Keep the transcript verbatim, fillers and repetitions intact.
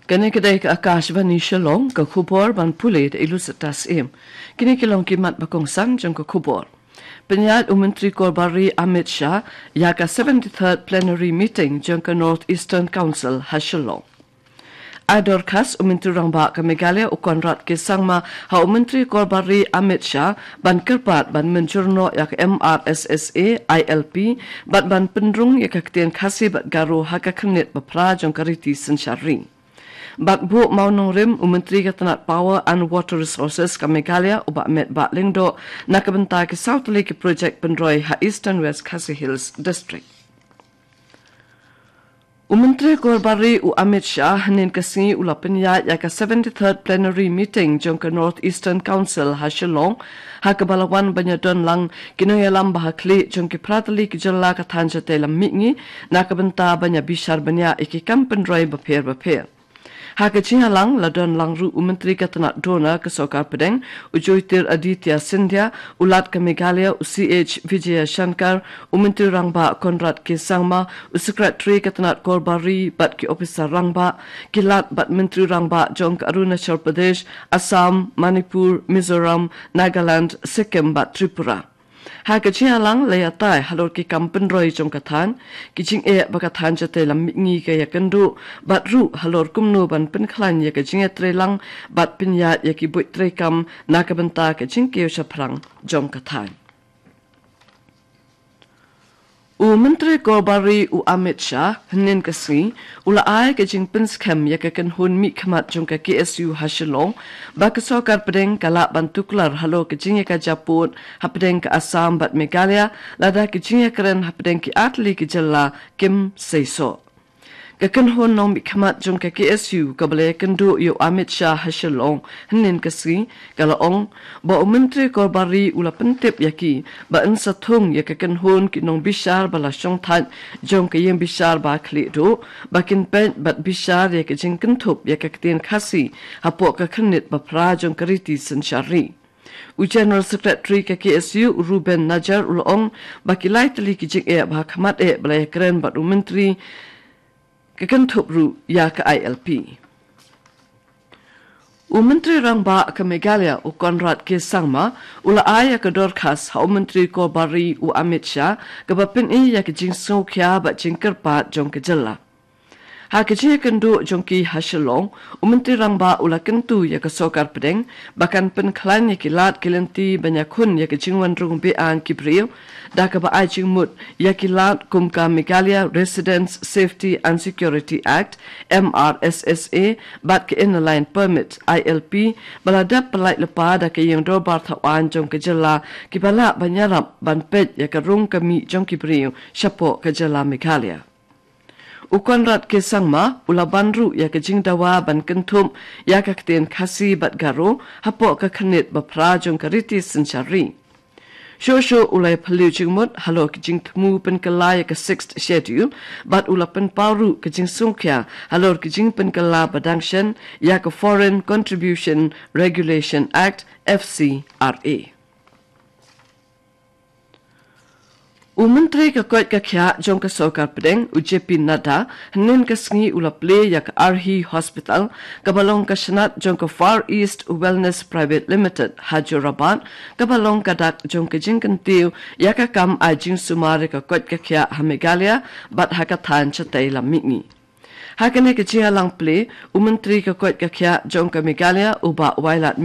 Kane ka dei ka Akashvani Shillong, ka khubor ban pule da i Lucetta Syiem. Kine ki long ki mat ba kongsan jong ka khubor. Pynïaid u Myntri Korbar Ri Amit Shah ïa ka seventy-third Plenary Meeting jong ka North Eastern Council ha Shillong. Ai dorkhas u Myntri Rangbah ka Meghalaya u Conrad K Sangma ha u Myntri Korbar Ri Amit Shah ban kyrpad ban mynjur noh ïa ka M R S S A I L P bad ban pynrung ïa ka ktien Khasi bad Garo ha ka khyrnit ba phra jong ka riti synshar ri. Bad buh mawnongrim u Myntri ka tnat Power and Water Resources ka Meghalaya u Bah Metbah Lyngdoh na ka bynta ki saw tylli ki projek pynroi ha Eastern West Khasi Hills District. U Myntri Korbar Ri u Amit Shah hynnin ka sngi u la pynïaid ïa ka seventy-third Plenary Meeting jong ka North Eastern Council ha Shillong, ha kaba la wan ban ïadon lang ki nongïalam ba ha khlieh jong ki phra tylli ki jylla ka thaiñ shatei lam mihngi na ka bynta ban ïa bishar bniah ïa ki kam pynroi bapher bapher. Ha ka jingïalang la don lang ruh u Myntri ka tnat DoNER ka Sorkar Pdeng, u Jyotiraditya Scindia, u Lat ka Meghalaya u C H Vijayashankar, u Myntri Rangbah Conrad K Sangma, u Secretary ka tnat Korbar Ri bad ki ophisar rangbah, ki Lat bad Myntri Rangbah jong ka Arunachal Pradesh, Assam, Manipur, Mizoram, Nagaland, Sikkim bad Tripura. Ha ka jingïalang la ïatai halor ki kam pynroi jong ka thaiñ, ki jingeh ba ka thaiñ shatei lam mihngi ka ïakynduh, bad ruh halor kumno ban pynkhlaiñ ïa ka jingïatreilang bad pynïaid ïa ki buit treikam na ka bynta ka jingkiew shaphrang jong ka thaiñ. U Myntri Korbar Ri u Amit Shah hynnin ka sngi u la ai ka jingpynskhem ïa ka kynhun mihkhmat jong ka K S U ha Shillong, ba ka Sorkar Pdeng ka lah ban tuklar halor ka jingïakajia pud hapdeng ka Assam bad Meghalaya, lada ka jingïakren hapdeng ki artylli ki jylla kim seisoh. Ka kynhun nongmihkhmat jong ka K S U kaba la ïakynduh ïa u Amit Shah ha Shillong hynnin ka sngi, ka la ong ba u Myntri Korbar Ri u la pyntip ïa ki ba yn sa thung ïa ka kynhun ki nongbishar ba la shongthait jong ka ïingbishar ba khlieh duh, ba kin peit bad bishar ïa ka jingkynthup ïa ka ktien Khasi hapoh ka khyrnit ba phra jong ka riti synshar ri. U General Secretary ka K S U u Ruben Najar u la ong ba ki lai tylli ki jingeh ba ha khmat eh ba la ïakren bad u Myntri ka kynthup ruh ïa ka I L P. U Myntri Rangbah ka Meghalaya u Conrad K Sangma u la ai ïa ka dorkhas ha u Myntri Korbar Ri u Amit Shah kaba pyni ïa ka jingsngewkhia bad jingkyrpad jong ka jylla. Ha ka jingïakynduh jong ki ha Shillong, u Myntri Rangbah u la kyntu ïa ka Sorkar Pdeng ba kan pynkhlaiñ ïa ki lad ki lynti ban ïakhun ïa ka jingwan rung be-aiñ ki briew, da kaba ai jingmut ïa ki lad kum ka Meghalaya Residents Safety and Security Act, M R S S A, bad ka Inner Line Permit, I L P, ba la dep pyllait lypa da ka Ïing Dorbar Thaw Aiñ jong ka jylla, kiba lah ban ïarap ban peit ïa ka rung ka mih jong ki briew shapoh ka jylla Meghalaya. U Conrad K Sangma u la ban ruh ïa ka jingdawa ban kynthup ïa ka ktien Khasi bad Garo hapoh ka khyrnit ba phra jong ka riti synshar ri. Shuh shuh u la ïaphylliew jingmut halor ka jingthmu pynkylla ïa ka Sixth Schedule, bad u la pynpaw ruh ka jingsngewkhia halor ka jingpynkylla ba dang shen ïa ka Foreign Contribution Regulation Act, F C R A. U Myntri ka koit ka khiah jong ka Sorkar Pdeng, u J P Nadda, hynnin ka sngi u la plie ïa ka Arhi Hospital, kaba long ka shnat jong ka Far East Wellness Private Limited, ha Jorabat, kaba long ka dak jong ka jingkyntiew ïa ka kam ai jingsumar ïa ka koit ka khiah ha Meghalaya bad ha ka thaiñ shatei lam mihngi. Ha kane ka jingïalang plie, u Myntri ka koit ka khiah jong ka Meghalaya, u Bah Wailadmiki